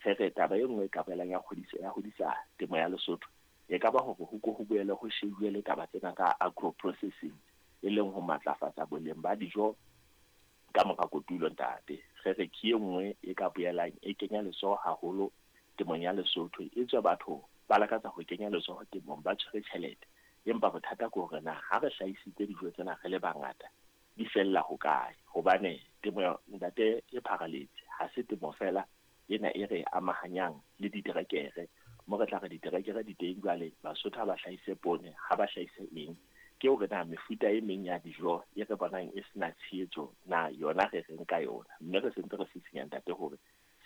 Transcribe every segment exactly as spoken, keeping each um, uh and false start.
Re re taba e nngwe e ka boelang ya kgodisa ya hodisa temo ya Lesotho e ka ba hore ho ko ho boele ho shebuwe le taba tsena tsa agro processing, e leng ho matlafatsa boleng ba dijo ka mora kotulo ntate. Re re ke e nngwe e ka boelang e kenya letsoho haholo temong ya Lesotho. E tswe batho ba lakatsa ho kenya letsoho temong ba tshwere tjhelete, empa bothata ke hore na ha re hlahisitse dijo tsena re le bangata di fella hokae? Hobane temo ntate e pharaletse, ha se temo fela ena e re amahanyang le diterekere. Mo re tla re diterekere di teng jwale, Basotho ha ba hlahise poone, ha ba hlahise eng. Ke hore na mefuta e meng ya dijo e re bonang e sena tshehetso na yona re reng ka yona. Mme re sentse re sisinya ntate hore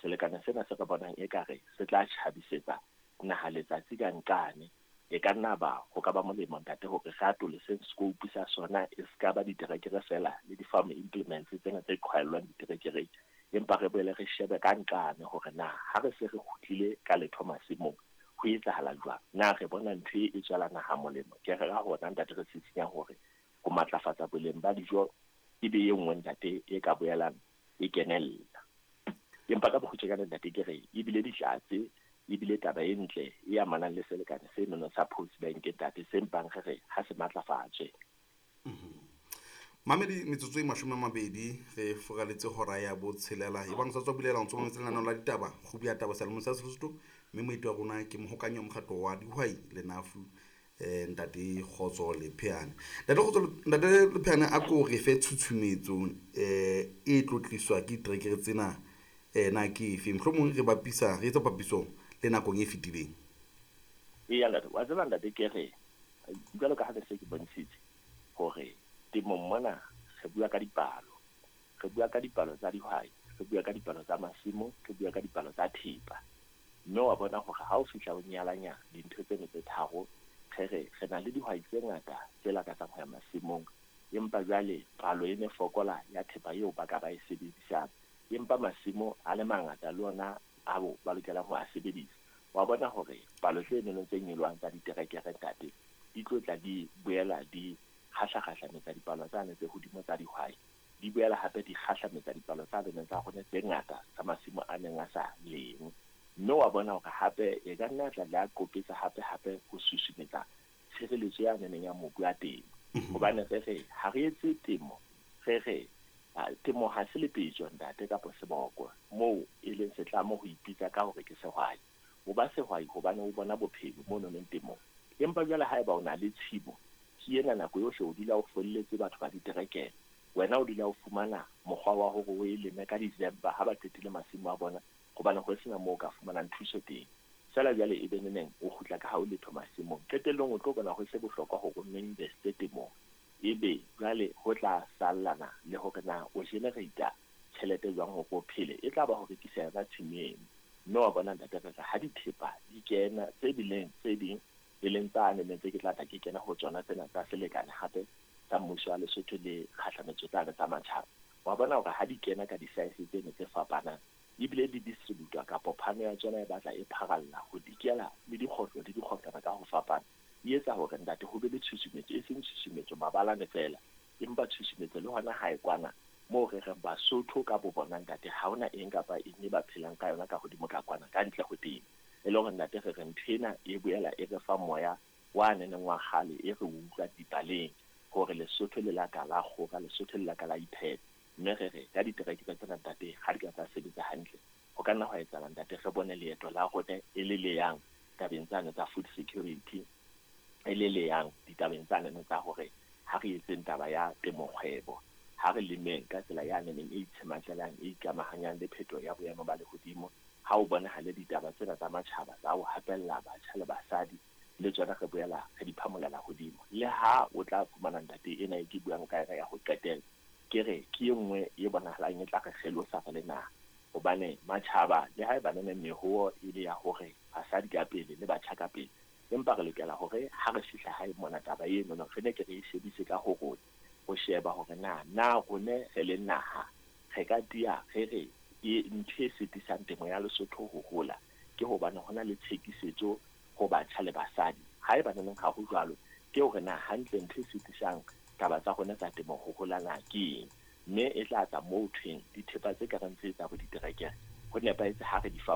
selekane sena se re bonang ekare se tla tjhabisetsa naha letsatsi ka nqane, e ka nna ba ho ka ba molemo ntate hore re atolose scope sa sona, e se ka ba diterekere fela le di-farm implements tsena tse qhwaellwang diterekereng, empa re boele re shebe ka nqane hore na ha re se re kgutlile ka letho masimong ho etsahala jwang. Na re bona ntho e e tswela naha molemo? Ke re ka hona ntate re sisinya hore ho matlafatsa boleng ba dijo e be e nngwe ntate e ka boelang e kenella. Empa ka bokgutshwanyane ntate ke re ebile ditlatse, ebile taba e ntle e amanang le selekane se nono sa Post Bank ntate, se mpang re re ha se matlafatswe. Mamedi, metsotso e mashome a mabedi re furaletse hora ya botshelela. E bang sa tswa bulela ntso mametse lenaneo la ditaba, kgubu ya taba selemong sa Sesotho, mme moeti wa rona ke mohokanyi wa mokgatlo wa dihwai le N A F U, eh, ntate Kgotso Lepheane. Ntate Kgotso, ntate Lepheane, a ko re fe tshutshumetso eh, e tlo tliswa ke diterekere tsena, eh, na ke efe? Mohlomong re bapisa, re etsa papiso le nakong e fetileng. Eya ntate, wa tseba ntate ke re jwalo ka ha ne se ke bontshitse hore temong mona re bua ka dipalo, re bua ka dipalo tsa dihwai, re bua ka dipalo tsa masimo, re bua ka dipalo tsa thepa. Mme wa bona hore ha o fihla o nyalanya dintho tseno tse tharo, re re re na le dihwai tse ngata tse lakatsang ho ya masimong, empa jwale palo e ne fokola ya thepa eo ba ka ba e sebedisang, empa masimo a le mangata le ona ao ba lokelang ho a sebedisa. Wa bona hore palo tse nonong tse nyolohang tsa diterekere ntate di tlo tla di boela di kgahlakgahlametsa dipalo tsane tse hodimo tsa dihwai, di boela hape di kgahlametsa dipalo tsa neng tsa rona tse ngata tsa masimo a neng a sa lengwe. Mme wa bona hore hape e ka nna tla la qopetsa hape hape ho susumetsa tshireletso ya neneng ya mobu ya temo. Hobane re re ha re etse temo, re re temo ha se lepetjo ntate kapa seboko moo e leng setlamo ho ipitsa ka hore ke sehwai. O ba sehwai hobane o bona bophelo mono neng temong. Empa jwale haeba o na le tshimo, ke ena nako yohle o dula o folletse batho ba diterekere, wena o dula o fumana mokgwa wa hore o e leme ka December ha ba qetile masimo a bona, hobane ho sena moo o ka fumanang thuso teng. Feela jwale e be neneng o kgutla ka ha o letho masimong, qetellong o tlo bona ho se bohlokwa hore o nno investe temong, ebe jwale ho tla sallana le hore na o generate tjhelete jwang hore o phele, e tla ba ho rekisa yona tshimo eno. Mme wa bona ntate re re ha dithepa di kena tse bileng tse ding e leng tsane ne tse ke tla tla ke kena ho tsona tsena tsa selekane hape tsa mmuso wa Lesotho le kgahlametso tsane tsa matjhaba, wa bona hore ha di kena ka di-size tseno tse fapanang ebile di distributwa kapa phano ya tsona e batla e pharalla ho dikela le dikgohlo le dikgohlwana ka ho fapana, e etsa hore ntate ho be le tshusumetso, e seng tshusumetso mabalane fela, empa tshusumetso le hona hae kwana moo re reng Basotho ka bo bona ntate ha hona eng kapa eng e ba phelang ka yona ka hodimo ka kwana ka ntle ho temo. E le hore ntate re re ntho ena e boela e re fa moya wa neneng wa kgale e re utlwa dipaleng hore Lesotho le la ka la kgora, Lesotho le la ka la iphepa. Mme re re ka diterekere tsena ntate ha di ka tsa sebetsa hantle, ho ka nna hwa etsahala ntate re bone leeto la rona e le le yang tabeng tsane tsa food security, e le le yang ditabeng tsane tsa hore ha re etseng taba ya temo kgwebo, ha re lemeng ka tsela ya neneng e itshematlelang, e ikamahanyang le phetoho ya boemo ba lehodimo. Ha o bonahale ditaba tsena tsa matjhaba tsa ho hapella batjha le basadi, le tsona re boela re di phamolela hodimo. Le ha o tla fumana ntate ena e ke buang ka yona ya ho qetela, ke re ke e nngwe e bonahalang e tla re kgelosa re le naha, hobane matjhaba le haeba nene mehowo e le ya hore basadi ka pele le batjha ka pele, empa re lokela hore ha re fihla hae mona taba eno re ne ke re e shebise ka ho rona, ho sheba hore na na rone re le naha re ka tiya re re e ntho e sitisang temo ya Lesotho ho hola ke hobane hona le tshekisetso ho batjha le basadi. Haeba neneng ha ho jwalo, ke hore na hantle ntho e sitisang taba tsa rona tsa temo ho hola na ke eng, mme e tla tla moo thweng dithepa tse ka reng tse tsa bo diterekere ho nepahetse ha re di fa